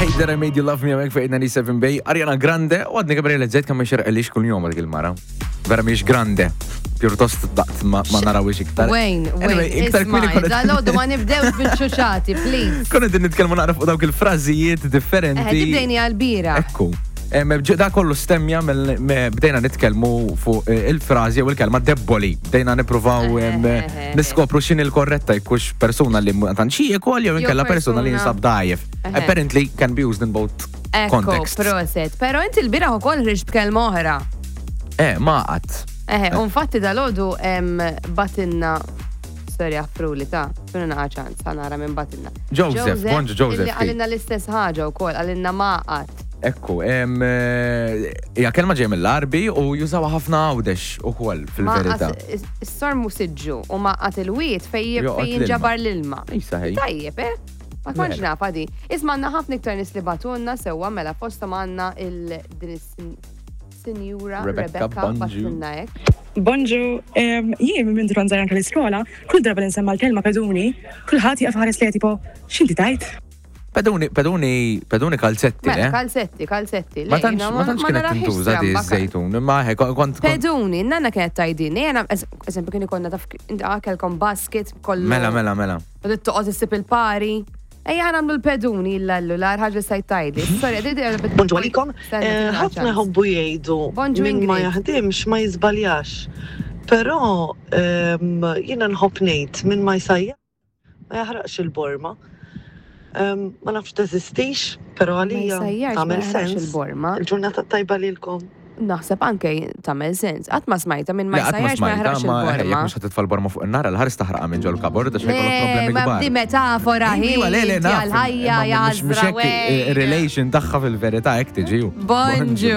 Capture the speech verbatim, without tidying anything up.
Hate That I Made You Love Me għamek fejn disgħa u sebgħin Bay, Ariana Grande, u għadni kemm realizzajt kemm xerqelix kull jum dik il-mara. Vera miex grande, pjuttost daqt ma ma narawix iktar. Wayne, Anyway, Wayne, iktar kmieni isma', konna- dal-għodu ma nibdewx bil-ċuċati, please. Konna din nitkellmu naqra fuq dawk il-frażijiet differenti. Eh, tibdejni għal-bira. Ekku. Em, ġ- Da kollu stemmja mill- me- bdejna nitkellmu fuq eh, il-frażi u il-kelma debboli. Bdejna nippruvaw em, Eh, eh, eh. niskopru x'inhi l-korretta jkunx persuna li ma tantx jiekol jew Jew inkella persuna li persuna- jinsab dajjef. Eh. Apparently can be used in both Ekku, contexts. proset. Pero inti l-bieraħ ukoll ħriġt b'kelma oħra. Eh, ma qatt. Eħe, u infatti dal-għodu bagħtilna, sorry, għafruli ta' tuna naqa ċans, ħa nara min bagħtilna. Joseph, bonġu Joseph. Illi qalilna l-istess ħaġa ukoll, qalilna maqat. Ekku, em, eh, hija kelma ġej mill-Arbi u jużawha ħafna Għawdex ukoll fil-verità. Maqat, is-sormu siġġu u maqat il-wiet fej Joqgħod fej jinġabar l-ilma. Issa ħej. Tajjeb, eh? Ma kontx Mela. nafa di. Isma' għandna ħafna iktar nies li bagħtulna sewwa mela fosthom għandna il din is-sinjura Rebecca Rebecca Bonġu. bagħtilna hekk. Bonġu, em, jien minn mindu kont żgħira anke l-iskola, kull darba li nsemma l-kelma peduni, kulħadd jaqaf ħares li tipo, x'inti tajt? Peduni, peduni, peduni kalzetti, Mela, eh? kalzetti, kalzetti. Ma Le, tantx jiena ma tantx kienet narahiex tintuża di stramba. żejtun, imma he kont kont Peduni, nanna kienet tajdini, jena, eżempju, kien ikollna taf, inti kelkom basket kollu. Mela, mela, mela. U toqgħod issib il-pari. Ejja nagħmlu l-peduni l-lallu, l ħaġa stajt tajdi. Sorry, di di Bonġu għalikom. Eh, Ħafna jħobbu jgħidu Bonġu, min ma Ingrid. jaħdimx ma jiżbaljax. Però ehm, jiena nħobb ngħid min ma jsajja ma jaħraqx il-borma. Ehm, Ma nafx teżistix, però għalija jsajjarx, ma tagħmel jaħraqx sens. il-borma. Il-ġurnata tajba lilkom. Naħseb anke tagħmel sens. Qatt ma smajta minn ma Le, qatt ma jsajjarx ma smajta, jaħraqx ma jekk il-borma. mhux ħa titfa' l-borma fuq in-nar, l-ħares taħraqa minn ġol kabord għax ħajkollok Le, problemi ma kbar. di metafora hi. Iva, le, le, naf. Għal-ħajja, imma mhux- mhux jażra, hekk, il-relation tagħha fil-verità hekk tiġi. Bonġu.